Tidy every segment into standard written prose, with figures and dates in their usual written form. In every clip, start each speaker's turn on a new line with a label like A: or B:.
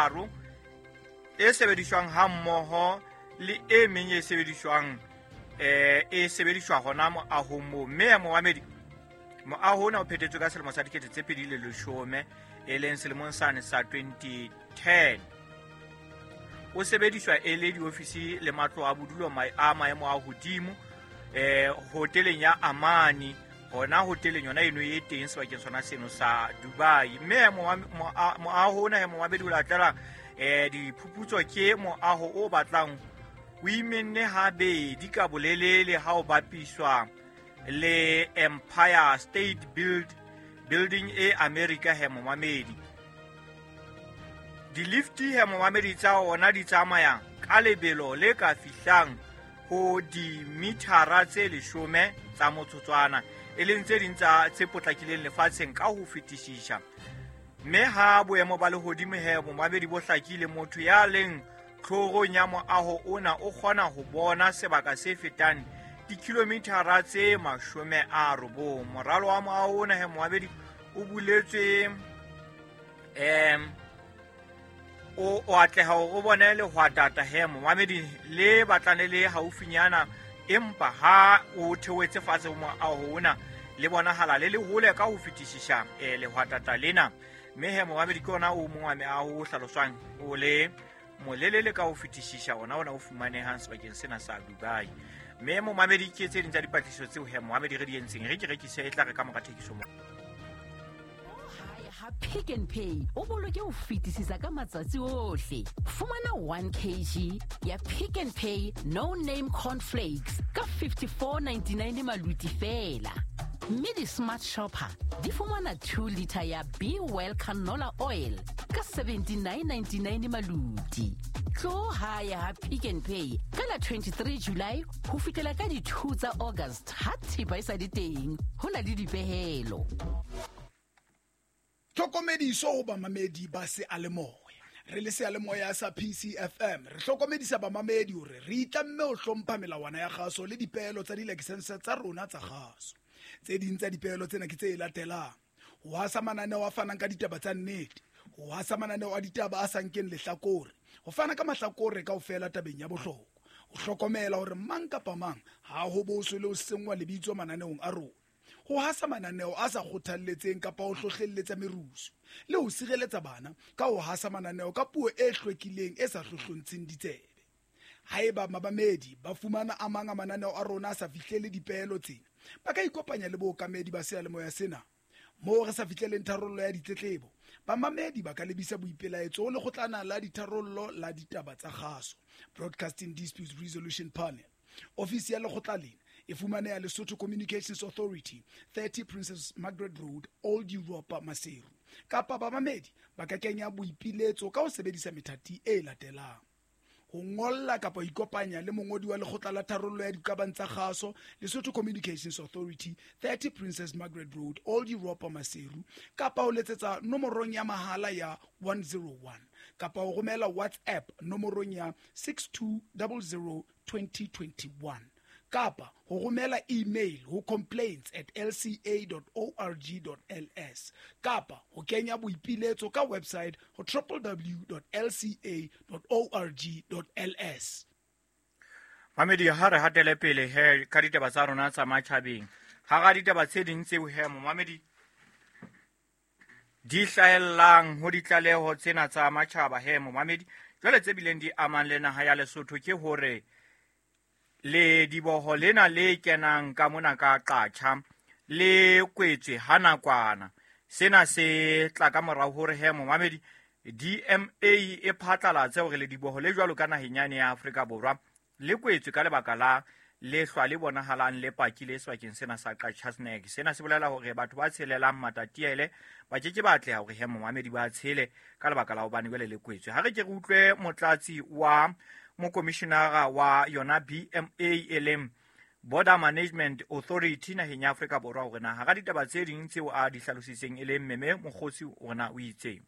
A: tharo e sebediswang ha mmoho le e meng e sebediswang e sebediswa hona moahong moo. Mme momamedi, moaho ona o phethetswe ka selemo sa 2010, e leng selemong sane sa 2010. O sebediswa e le diofisi le matlo a bodulo a maemo a hodimo hoteleng ya Amani, hona hoteleng yona eno e teng sebakeng sona seno sa Dubai. Mme moaho ona momamedi o latela diphuputso ke moaho o batlang o imenne habedi ka bolelele ha o bapiswa le Empire State Building e America. He momamedi, di-lift he momamedi tsa ona di tsamaya ka lebelo le ka fihlang ho dimithara tse 10 tsa motsotswana, e leng tse ding tsa tse potlakileng lefatsheng ka ho fetisisa. Mme ha boemo ba lehodimo he momamedi bo hlakile, motho ya leng tlhorong ya moaho ona o kgona ho bona sebaka se fetang dikilomithara tse 90. Moralo wa moaho ona he momamedi o buletswe o atleha hore o bone lehwatata he momamedi le batlang le le haufinyana, empa ha o theohetse fatshe ho moaho ona le bonahala le le hole ka ho fetisisa lehwatata lena. Mme he momamedi ke ona o mong wa meaho o hlaloswang o le molelele ka ho fetisisa, ona o fumanehang sebakeng sena sa Dubai. Mme momamedi ke tse ding tsa dipatlisiso tseo he momamedi re di entseng, re ke rekise e tla re ka mora thekiso mo.
B: Ha Pick n Pay o boloke ho fetisisa ka matsatsi ohle. Fumana 1 kg ya Pick n Pay No Name Cornflakes ka 54.99 maluti fela. Mme di-smart shopper di fumana 2 liter ya Be Well canola oil ka 79.99 maluti. Tlo hae ha Pick n Pay ka la 23 July ho fihlela ka di 2 tsa August ha thepa e sa le teng. Ho na le dipehelo.
C: Tlhokomediso ho bamamedi ba seyalemoya. Re le seyalemoya sa PCFM re hlokomedisa bamamedi hore re itlamme ho hlompha melawana ya kgaso le dipeelo tsa dilakesense tsa rona tsa kgaso. Tse ding tsa dipeelo tsena ke tse latelang: ho hasa mananeo a fanang ka ditaba tsa nnete, ho hasa mananeo a ditaba a sa nkeng lehlakore, ho fana ka mahlakore kaofela tabeng ya bohlokwa, ho hlokomela hore mang kapa mang ha ho boswe le ho senngwa lebitso mananeong a rona, ho hasa mananeo a sa kgothalletseng kapa ho hlohlelletsa merusu, le ho sireletsa bana ka ho hasa mananeo ka puo e hlwekileng e sa hlohlontsheng ditsebe. Haeba babamedi ba fumana a mang a mananeo a rona a sa fihlele dipeelo tsena, ba ka ikopanya le bookamedi ba seyalemoya sena. Moo re sa fihleleng tharollo ya ditletlebo, bamamedi ba ka lebisa boipelaetso ho lekgotlana la ditharollo la ditaba tsa kgaso, Broadcasting Disputes Resolution Panel. Ofisi ya lekgotla lena e fumaneha Lesotho Communications Authority, 30 Princess Margaret Road, Old Europa, Maseru. Kapa bamamedi ba ka kenya boipiletso ka ho sebedisa methati e latelang: ho ngolla kapa ho ikopanya le mongodi wa lekgotla la tharollo ya diqabang tsa kgaso, Lesotho Communications Authority, 30 Princess Margaret Road, Old Europa, Maseru, kapa ho letsetsa nomorong ya mahala ya 101, kapa ho romela WhatsApp nomorong ya 6200 2021, kapa ho romela email ho complaints@lca.org.ls, kapa ho kenya boipiletso ka website ho www.lca.org.ls.
A: Mamedi, ha re hatele pele he ka ditaba tsa rona tsa matjhabeng. Hara ditaba tse ding tseo he momamedi di hlahellang ho ditlaleho tsena tsa matjhaba he momamedi, jwale tse bileng di amang le naha ya Lesotho ke hore le diboho lena le kenang ka mona ka Qatjha le kwetswe ha nakwana. Sena se tla ka morao hore he momamedi DMA e phatlalatse hore le diboho le jwalo ka naheng yane ya Afrika Borwa le kwetswe ka lebaka la lehlwa le bonahalang le pakile sebakeng sena sa Qacha's Nek. Sena se bolela hore batho ba tshelelang Matatiele ba ke ke ba atleha hore he momamedi ba tshele ka lebaka la hobane jwale le kwetswe. Ha re ke re utlwe motlatsi wa mokomishinara wa yona BMA e leng Border Management Authority naheng ya Afrika Borwa hore na hara ditaba tse ding tseo a di hlalositseng e leng Meme Mokgosi hore na o itseng.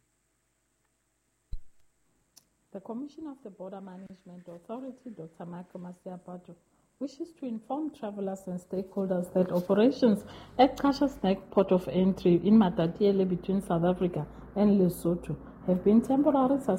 D: The Commissioner of the Border Management Authority, Dr. Michael Masiapato, wishes to inform travelers and stakeholders that operations at Qacha's Nek port of entry in Matatiele between South Africa and Lesotho have been temporarily suspended.